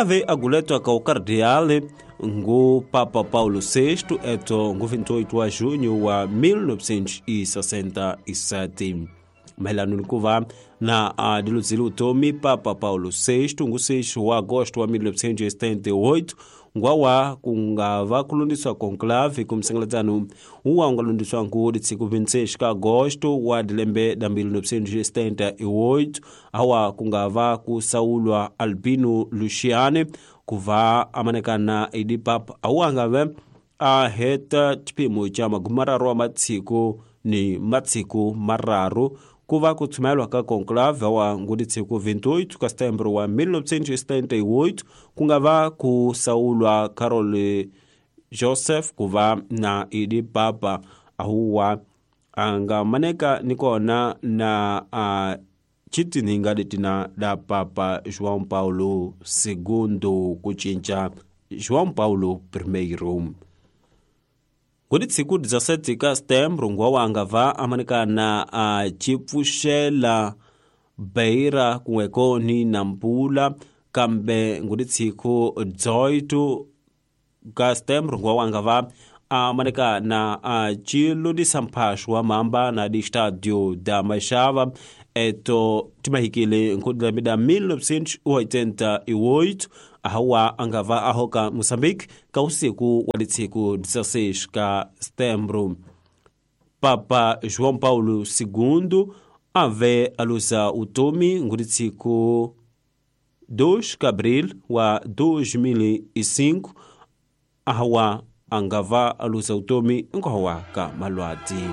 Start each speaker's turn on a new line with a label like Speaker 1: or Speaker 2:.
Speaker 1: Ave aguletwa ka o cardeal ngu Papa Paulo VI eto ngu 28 wa junho wa 1967. Mayelana ni ku va na a diluzile utomi Papa Paulo VI ngu 6 wa agosto wa 1978, ngwawa ku nga va ku lundiswa conclave kumsengeledzano uwa u nga lundiswa ngu litsiku 26 ka agosto wa dilembe da 1978, awa ku nga va ku sawulwa Albino Luciane ku va amanekana idi papa, awa nga ve a heta xiphemu xa magumararu wa matsiku ni matsiku mararu ku va ku tshumelwa ka conclave wa nguditshiku 28 ka setembro wa 1978, ku nga va ku sawulwa Carol Joseph ku va na idi papa, ahuwa a nga maneka ni kona na a chitininga letina da Papa João Paulo II ku cinca João Paulo I. Nguditshiku 17 ka setembro, ngwawa nga va amanikana a chipfuxela Beira kun'weko ni Nampula, kambe nguditshiku 18 ka setembro, ngwawa nga va amanikana a chilundisa mphaxo wa mamba na di Estádio da Machava eto timahikile nkudilembe da 1988, ahawa anga va ahoka Moçambique ka usiku wa litsiku 16 ka setembro. Papa João Paulo II ave alusa utomi nguditshiku 2 ka abril wa 2005, ahawa angava alusa utomi nkohowa ka malwati.